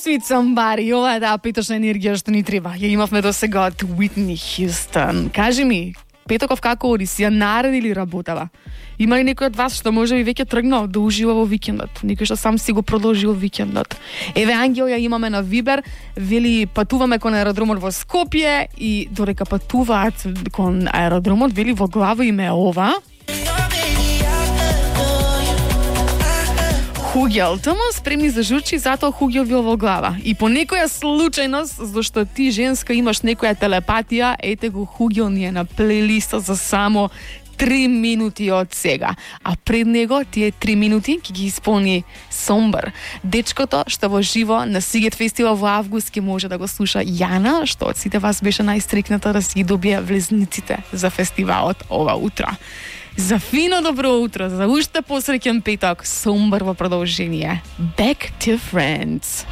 Sweet Somebody, ова е таа петочна енергија што ни треба. Ја имавме до сега од Whitney Houston. Кажи ми, петоков како оди, си ја нареди ли работава? Има ли некој од вас што може би веќе тргнал да ужива во викендот? Некој што сам си го продолжил викендот? Еве Ангел ја имаме на Вибер, вели патуваме кон аеродромот во Скопје и додека патуваат кон аеродромот, вели во глава име ова. Хугел, тома спремни за журчи, затоа Хугел бил во глава. И по некоја случајност, зашто ти женска имаш некоја телепатија, ете го Хугел ни е на плейлиста за само 3 минути од сега. А пред него тие 3 минути ќе ги исполни Somber. Дечкото што во живо на Сигет фестивал во август ќе може да го слуша Јана, што од сите вас беше најстрикната да си ги добие влезниците за фестивалот ова утро. За фино добро утро, за уште посреќен петок, Somber во продолжение. Back to Friends.